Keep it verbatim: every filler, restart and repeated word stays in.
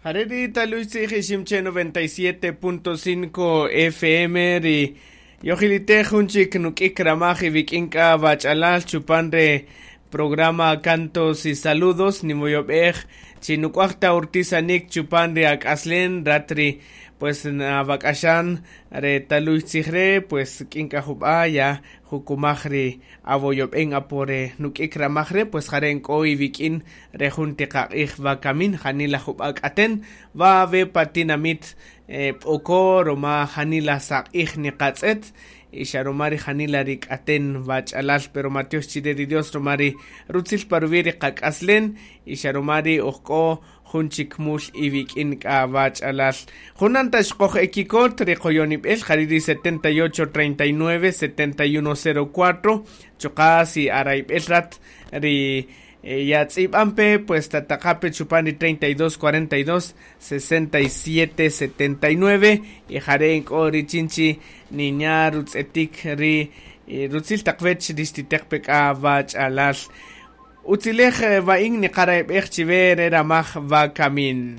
Jare' ri taluy tzij Iximche noventa y siete punto cinco F M ri yojilitej jun chik nuk'ik ramaj iwik'in k'a wach'alal chupan re programa Cantos y Saludos. Nimoyob'ej chi nuk'uaj ta urtisanik chupan ri ak'aslen rat ri pues nawak'axan re taluy tzij re, pues k'in k'a jub'a ya jukumaj ri awoyob'en apo re nuk'ik ramaj re, pues jare' nk'o iwik'in re jun tiqaq'ij wakamin. Janila jub'a k'aten wa we pa tinamit eh, B'oko roma janila saq'ij niqatz'et y xa roma ri janila ri k'aten wach'alal, pero matiox chire ri Dios roma ri rutzil pa ruwi' ri qak'aslen y xa roma ri ojk'o jun chik mul iwik'in k'a wach'alal. Junan ta xqoj ekikot ri qoyonib'el jari' ri setenta y ocho treinta y nueve setenta y uno cero cuatro, chuqa' si arayb'el rat ri, eh, ya tz'ib'anpe, pues tataqape chupan ri treinta y dos cuarenta y dos sesenta y siete setenta y nueve y jare' nk'o richin chi niña rutz'etik ri, eh, rutzil taq wech ri xtiteqpe k'a wach'alal. Utzilej, eh, wa'in niqarayb'ej chiwe re ramaj wakamin.